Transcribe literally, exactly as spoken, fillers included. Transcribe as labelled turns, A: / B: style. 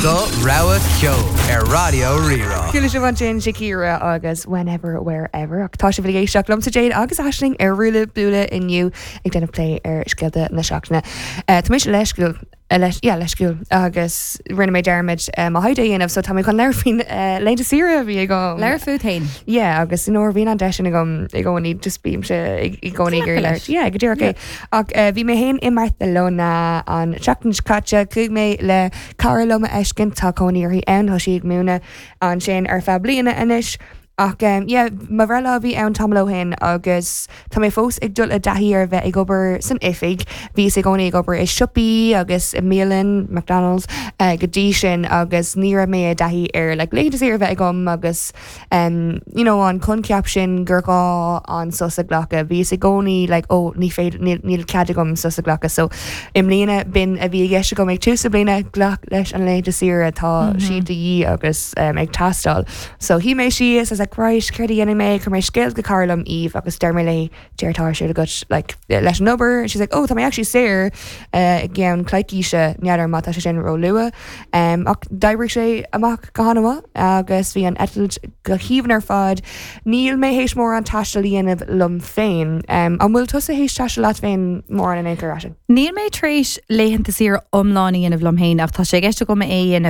A: Do rogha ceoil ar Raidió Rí-Rá.
B: Chuala sibh ansin Shakira agus Whenever Wherever ach tá sibh ag éisteacht liomsa Jade agus Aisling ar Ruaille Buaille inniu ag déanamh plé ar scéalta na seachtaine. Uh, Tá mise leisciúil leis yeah, leisciúil agus rinne mé dearmad um, a haide dhéanamh so tá mé chun labhairt faoin uh, laethanta saoire a bhí agam.
C: Labhair fút féin.
B: Yeah, agus nuair bhíonn an deis sin agam i gcónaí just bímse i gcónaí gur
C: leis.
B: Yeah, go díreach é. Ach uh, bhí mé féin i mBarcelona an seachtain seo caite chuaigh mé le cara liom a fheiscint tá cónaí uirthi ann tá sí ag múineadh ansin ar feadh bliana anois. Ach um, yeah, mo bhreithlá bhí ann tamall ó shin agus tá mé fós ag dul i dtaithí ar bheith ag obair san oifig, Bhíos i gcónaí ag obair i siopaí agus i mbialann McDonald's uh, go dtí sin agus ní raibh mé i dtaithí ar like, laethanta saoire a bheith agam agus um, you know, an coincheap sin gur gá an sos a ghlacadh. Bhíos i gcónaí like, oh, ní féidir níl, níl cead agam sos a ghlacadh, so i mbliana b'in a bhí i gceist agam ag tús na bliana glac leis an laethanta saoire tá mm -hmm. siad de dhíth agus um, ag teastáil. So shuigh mé síos as like, right, céard a dhéanfaidh mé chuir mé scéal go cara liom Eve agus deir mé léi céard atá ar siúl agat like, leis an obair she's like oh tá mé actually saor uh, i gceann coicíse n'fheadar má tá sé sin ró luath um, ach d'oibrigh sé amach go han-mhaith agus bhí an eitilt go haoibhinn ar fad níl mé théis mórán taistil a dhéanamh liom féin um, an bhfuil tusa théis taisteal leat féin mórán in aon chor sin
C: Níl mé tar éis laethanta saoire iomlán a dhéanamh liom féin ach tá sé i gceist agam é a dhéanamh